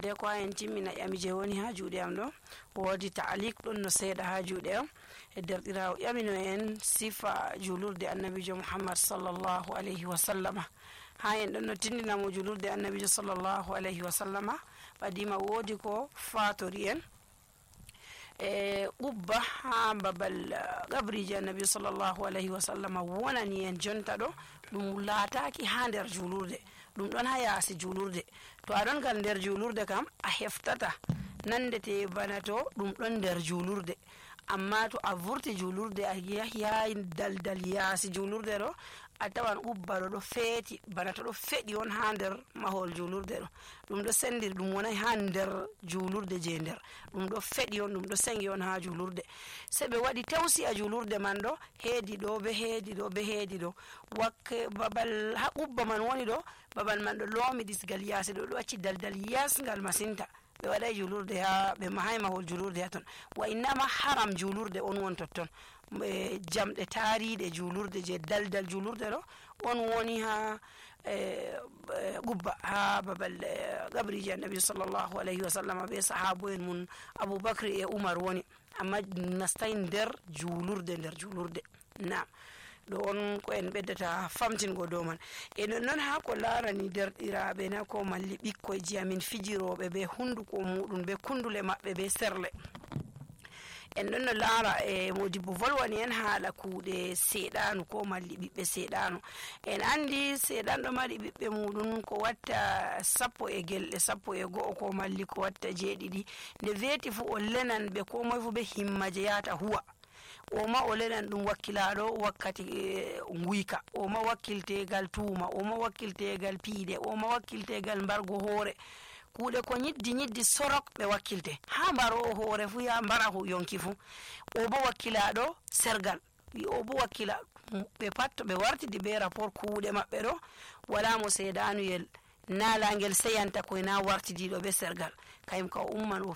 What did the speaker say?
de ko en timmina ƴami je woni ha juuɗe am ɗo woodi ta'liq ɗon no seeɗa ha juuɗe am e derɗirawo ƴamino en sifa julurde annabijo Muhammad sallallahu alayhi wa sallama. Ha en ɗon no tindinamo julurde annabijo sallallahu alayhi wa sallama ɓadima woodi ko fatori en e ubba ha babal gabriji annabi sallallahu alayhi wa sallama wonani en jonta ɗo ɗum laataki ha nder julurde, ɗum ɗon ha yaasi julurde. To aɗon gal nder julurde kam a heftata nandete bana to ɗum ɗon nder julurde, amma to a vurti julurde a yahi daldal yaasi julurde ɗo a tawan ubba ɗo feeti bana to ɗo feɗi on ha nder mahol julurde ɗo, ɗum ɗo sendiri ɗum wonai ha nder julurde je nder, ɗum ɗo feɗi on, ɗum ɗo sengi on ha julurde. Se ɓe waɗi tawsi a julurde man ɗo heedi ɗo be heedi ɗo be heedi ɗo wakke babal ha ubba man woni ɗo, babal man ɗo loomi disgal yaasi ɗo ɗo acci daldal yasgal masinta. ɓe waɗai julurde ha ɓe mahay mahol julurde ha ton, wa innama haram julurde on won totton. Jamɗe taariɗe julurde je daldal julurde ɗo on woni ha gubba ha babal gabriji annabi sallallahu alayhi wa sallam be sahabo en mun Aboubacry e Umar woni, amma nastai nder julurde. Naam, ɗo on ko en ɓeddata famtingo dow man. E non ha ko larani derɗiraɓe na ko malli ɓikkoyji amin fijiroɓe be hunduko muɗum be kundule maɓɓe be serle, en ɗon no laara e modibbo volwani en haala kuuɗe seeɗanu ko malli ɓiɓɓe seeɗanu. En andi seeɗanɗo mari ɓiɓɓe muɗum ko watta 11 ko malli ko watta 7 nde weeti fu o lenan ɓe ko moye fu be himma je yata huwa, o ma o lenan ɗum wakkilaɗo wakkati nguyka, o ma wakkiltegal tuuma, o ma wakkiltegal piide, o ma wakkiltegal mbargo hoore, kuuɗe ko ñiddi sorok ɓe wakkilte. Ha mbaro hoore fu ya mbara yonki fu, o bo wakkilaɗo sergal, o bo wakkila ɓe pat to ɓe wartidi be rapport kuuɗe maɓɓe ɗo wala mo seedanuyel naalangel seyanta koye na wartidiɗo be sergal, kayum ka o umman o